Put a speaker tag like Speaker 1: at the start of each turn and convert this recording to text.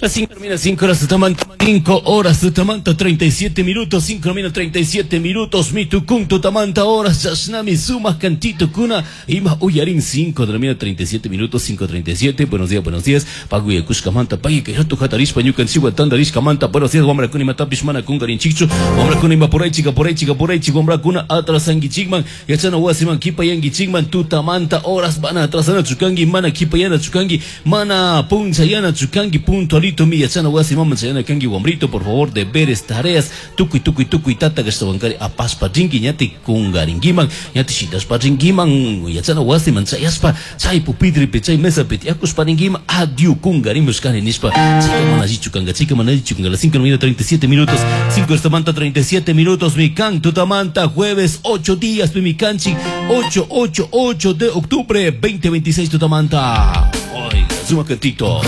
Speaker 1: Las 5 termina 5 horas tutamanta, 5 horas tutamanta 37 minutos, 5 termina 37 minutos, mitukun tutamanta horas, chashnami sumak cantito kuna, ima uyarin 5 termina 37 minutos, 5.37, buenos días, buenos días, pagu yakushkamanta, pagui kay ratu hatarishpa ñukanchikwan tantarishkamanta, buenos días, wamrakuna imatapish mana kunkarinchikchu, wamrakuna ima puraychik, apuraychik, apuraychik, wamrakuna atrasankichikman, yachana wasiman kipayankichikman, tutamanta horas mana atrasanachu kanki, mana kipayanachu kanki, mana punchayanachu kanki, puntualito mi yachana wasiman chayana kanki, wamrito, por favor, deberes, tareas, tukuy, tukuy, tukuy, tata kashtawankari apashpa rinki, ñati kunkarinkiman, ñati shitashpa rinkiman, yachana wasiman chayashpa, chay pupitripi, chay mesapi tiyakushpa rinkiman, adiu kunkarimushkani nishpa, chayka mana allichu kanka, chayka mana allichu kanka, las 5 37 minutos, 5 tutamanta 37 minutos, mi kan tutamanta, jueves 8 días, mi kanchik, 8, 8, 8 de octubre, 2026 tutamanta. Oiga, suma cantito.